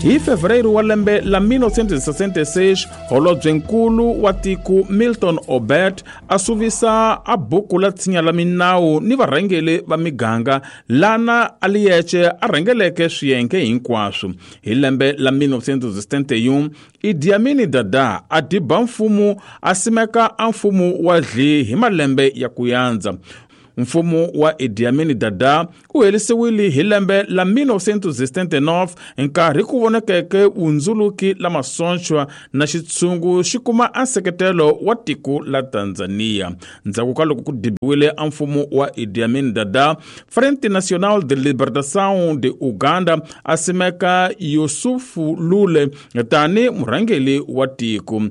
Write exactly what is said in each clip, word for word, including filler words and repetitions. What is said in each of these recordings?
Hi fevereiro wa lembe la mil novecentos e sessenta e seis, holobyenkulu wa tiko Milton Obote a suvisa a buku la tshinya la minawu ni varhangeli va miganga lana a li yexe a rhangeleke swiyenge hinkwaswo. Hi lembe la mil novecentos e setenta e um, Idi Amin Dada a diba mfumo a simeka a mfumo wa dli hi malembe ya ku yandza. Mfumo wa Idi Amin Dada wu herisiwile hi lembe la mil novecentos e setenta e nove nkarhi ku vonekeke vundzuluki la masochwa na xitshungu xi kuma a nseketelo wa tiko la Tanzania. Ndzhaku ka loko ku dibiwile a mfumo wa Idi Amin Dada, Frente Nacional de Libertação de Uganda a simeka Yusufu Lule tani murhangeri wa tiko.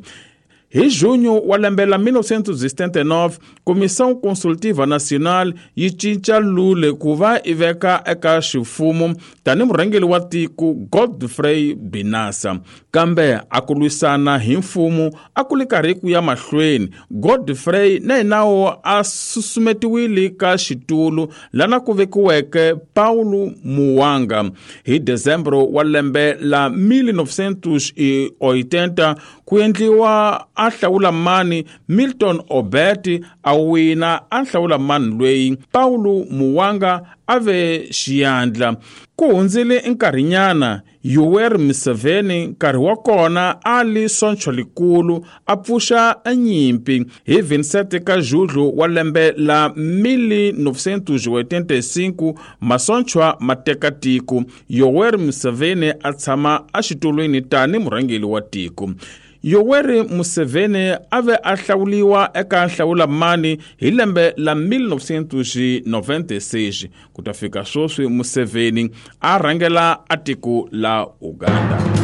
Hi junho wa lembe la mil novecentos e setenta e nove, Comissão Consultiva Nacional yi cinca Lule ku va i veka eka ximfumo tani murhangeri wa tiko Godfrey Binaisa. Kambe a ku lwisana hi mfumo a ku li karhi ku ya mahlweni. Godfrey na yena a susumetiwile ka xitulu lana ku vekiweke Paulo Muwanga. Hi Dezembro wa lembe la mil novecentos e oitenta ku endliwa a hlawula mani Milton Obote a wina a hlawula mani loyi Paulo Muwanga a ve xiyandla. Ku hundzile nkarhinyana Yoweri Museveni nkarhi wa kona a li soncho likulu a pfuxa nyimpi. Hi vingt-e-sept ka Julho wa lembe la mil novecentos e oitenta e cinco, masonchwa ma teka tiko. Yoweri Museveni a tshama exitulwini tani murhangeri wa tiko. Yoweri Museveni a ve a hlawuliwa eka nhlawulamani hi lembe la mil novecentos e noventa e seis. Ku ta fika sweswi Museveni a rhangela a tiko la Uganda.